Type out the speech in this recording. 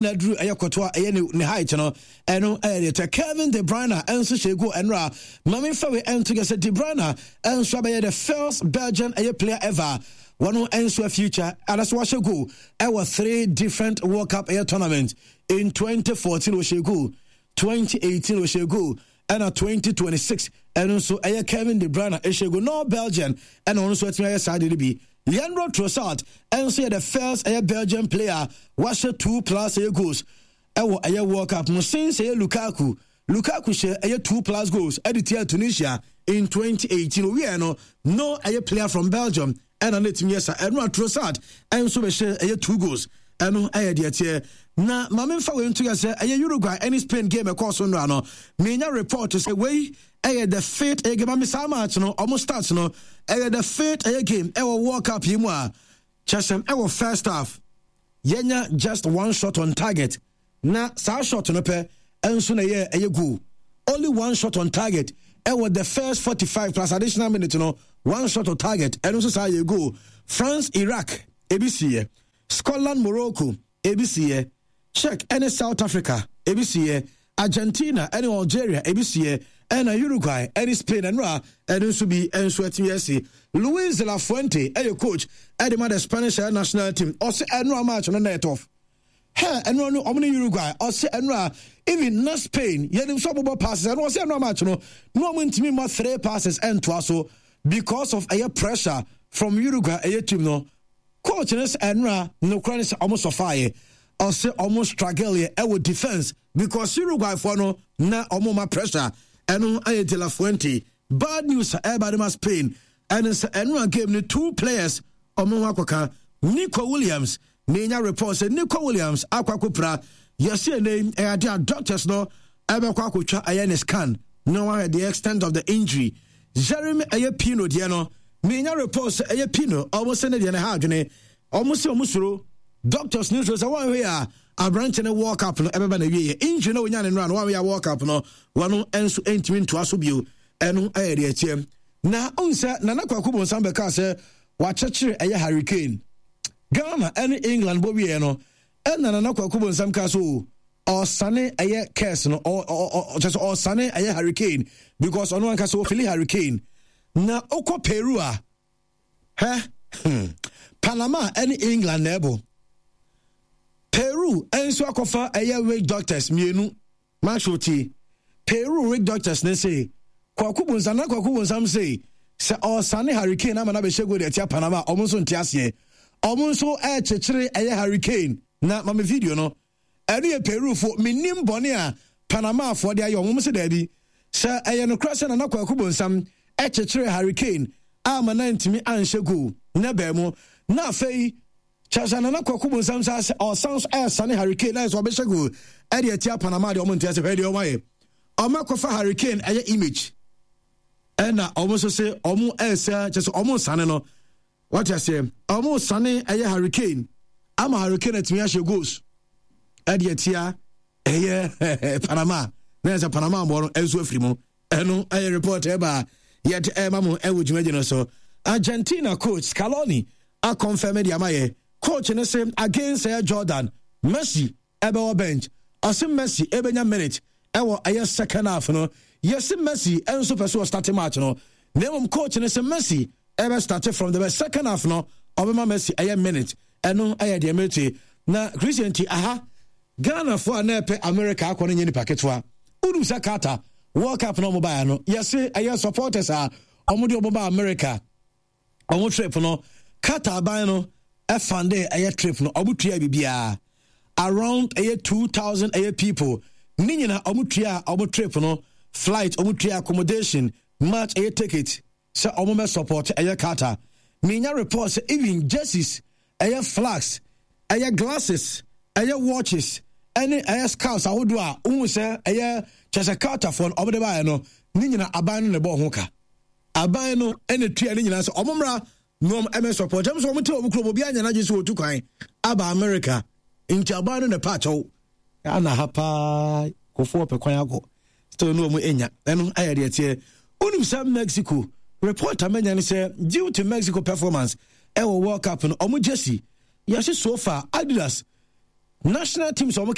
Na duru ɛyɛ kɔtɔ a ɛyɛ ne ne height no, ɛno ɛyɛ deɛ tɛ. Kevin De Bruyne ɛnso hyɛ goal ɛnora. Maame nfa wei ɛnto yɛ sɛ De Bruyne ɛnso abɛyɛ the first Belgian ɛyɛ player ever wɔn ɛnso a future anaso wahyɛ goal ɛwɔ three different World Cup ɛyɛ tournament. In 2014 ɔhyɛ goal, 2018 ɔhyɛ goal, ɛna 2026 ɛno nso ɛyɛ Kevin De Bruyne ɛhyɛ goal. No Belgian ɛna ɔno nso atumi ayɛ saa deɛ no bi. Leandro Trossard nso yɛ the first ɛyɛ Belgian player wahyɛ two plus ɛyɛ goals ɛwɔ ɛyɛ World Cup mu since ɛyɛ Lukaku. Lukaku hyɛ ɛyɛ two plus goals ɛde tia Tunisia in 2018. Owiɛ no, no ɛyɛ player from Belgium ɛna ne tumi yɛ sa. Ɛno a Trossard ɛnso bɛhyɛ ɛyɛ two goals. Ɛno ɛyɛ deɛ teɛ. Na maame nfa wei nto yɛ sɛ ɛyɛ Uruguay ɛne Spain game ɛkɔɔ so nnora no, menya report sɛ wei ɛyɛ the fifth ɛyɛ game. Ami saa match no, ɔmo start no, ɛyɛ the fifth ɛyɛ game ɛwɔ World Cup yi mu a kyɛsɛm ɛwɔ first half yɛnya just one shot on target, na saa shot no pɛ ɛnso na ɛyɛ goal. Only one shot on target ɛwɔ the first 45 plus additional minute no, one shot on target, ɛno nso saa yɛ goal. France Iraq ebi si yɛ, Scotland Morocco ebi si yɛ, Czech ɛne South Africa ebi si yɛ, Argentina ɛne Algeria ebi si yɛ, ɛna Uruguay ɛne Spain ɛnora ɛno nso bi ɛnso ɛtumi ɛsi. Luis de la Fuente ɛyɛ coach ɛde ma the Spanish national team. Ɔsɛ ɛnora match no na ɛtɔf hɛ ɛnora no ɔmo ne Uruguay. Ɔsɛ ɛnora even na Spain yɛnim sɛ ɔmo bɔ passes, ɛno ɔsɛ ɛnora match no na ɔmo ntumi mmɔ three passes ɛntoa so because of ɛyɛ pressure from Uruguay ɛyɛ team no. Coach no sɛ ɛnora nokora ne sɛ ɔmo sɔfaeɛ. Ɔsɛ ɔmo struggle yɛ ɛwɔ defense because Uruguay foɔ no na ɔmo ma pressure. Ɛno ayɛ De La Fuente. Bad news a ɛreba de ma Spain ɛne sɛ ɛnora game no two players ɔmo ho akɔka. Nico Williams, menya report sɛ Nico Williams akɔ akɔpira. Yɛsi ɛnɛ ɛyɛ ade a doctors no ɛbɛkɔ akɔtwa ɛyɛ ne scan na wɔahwɛ the extent of the injury. Jeremy ɛyɛ Pino deɛ no, menya report sɛ ɛyɛ Pino, ɔmo sɛ ne deɛ no ha adwene. Ɔmo sɛ ɔmo suro, doctors ne suro sɛ wɔnhwɛ a aberante no World Cup no ɛbɛba na wieɛ. Injury na onya ne nora no, wɔnhwɛ a World Cup no wɔno nso ntumi ntoa so bio. Ɛno ɛyɛ deɛ ɛteɛ. Na ɔn sɛ Nana Kwaku Bonsam bɛka sɛ wakyekyere ɛyɛ Harry Kane. Ghana ɛne England bɔ wieɛ no, ɛna Nana Kwaku Bonsam ka so ɔsane ɛyɛ curse no, ɔkyɛ sɛ ɔsane ɛyɛ Harry Kane because ɔno ankasa ɔfili Harry Kane. Na ɔkɔ Peru a hɛ Panama ɛne England na ɛbɔ. Peru nso akɔfa ɛyɛ witch doctors mmienu. Maxwell tie. Peru witch doctors ne se Kwaku Bonsam, na Kwaku Bonsam se sɛ ɔsane Harry Kane ama no abɛhyɛ goal de atia Panama, ɔmo nso nte aseɛ. Ɔmo nso ɛkyekyere ɛyɛ Harry Kane. Na ma me video no. Ɛno yɛ Perufo. Menim bɔne a Panamafoɔ de ayɛ ɔmo. Ɔmo se daabi. Sɛ ɛyɛ nokorɛ sɛ Nana Kwaku Bonsam kyekyeree Harry Kane amma no antumi anhyɛ goal na baa mu, na afei kyerɛ sɛ Nana Kwaku Bonsam saa sɛ ɔsan so ɛresane Harry Kane na ayɛ sɛ ɔbɛhyɛ goal ɛde atia Panama deɛ, ɔmo nte ase. Hwɛ deɛ ɔmo ayɛ. Ɔmo akɔfa Harry Kane ɛyɛ image ɛna ɔmo nso se ɔmo ɛresɛ, kyerɛ sɛ ɔmo nsane no. Wate aseɛ? Ɔmo sane ɛyɛ Harry Kane ama Harry Kane atumi ahyɛ goals ɛde atia ɛyɛ Panama, na ɛsɛ Panama mbɔ no ɛnso afiri mu. Ɛno ɛyɛ report ɛba yɛde ɛma mo ɛwɔ dwumadie no so. Argentina coach Scaloni akɔnfɛm de ama yɛ. Coach no se against ɛyɛ Jordan, Messi ɛbɛwɔ bench. Ɔse Messi ɛbɛnya minute ɛwɔ ɛyɛ second half no. Yɛse Messi ɛnso pɛ so ɔstarte match no, na mmom coach no se Messi ɛbɛ starte from the second half no, ɔbɛma Messi ɛyɛ minute. Ɛno ɛyɛ deɛ mete. Na Christian ti aha, Ghanafoɔ a na ɛpɛ America akɔ no nyɛ nipa ketewa. Wonim sɛ Qatar World Cup na ɔmo baeɛ no, yɛse ɛyɛ supporters a ɔmo de ɔmo ba America ɔmo trip no, Qatar aban no ɛfande ɛyɛ trip no, ɔmo tua biribiara around ɛyɛ 2000 ɛyɛ people ne nyina. Ɔmo tua ɔmo trip no, flight, ɔmo tua accommodation, match ɛyɛ ticket sɛ ɔmo bɛ support ɛyɛ Qatar. Menya report sɛ even jerseys, ɛyɛ flags, ɛyɛ glasses, ɛyɛ watches ɛne ɛyɛ scarves ahodoɔ a wohu sɛ ɛyɛ kyɛ sɛ Qatarfoɔ no ɔmo de baeɛ no ne nyina, aban no na ɛbɔ ho ka. Aban no ɛna tua ne nyinaa sɛ ɔmo mmra na ɔmo ɛmɛ support. Ɛm sɛ ɔmo te ɔmo kurom, obi anya n'adwene sɛ wɔtu kwan aba America, nti aban no na ɛpa akyɛw. Ana ha paa kɔfoɔ pɛ kwan akɔ still no ɔmo enya. Ɛno ayɛ deɛ teɛ. Wonim sɛ Mexico report a manya ne sɛ due to Mexico performance ɛwɔ World Cup no, ɔmo jersey yɛse so far Adidas National teams wɔn.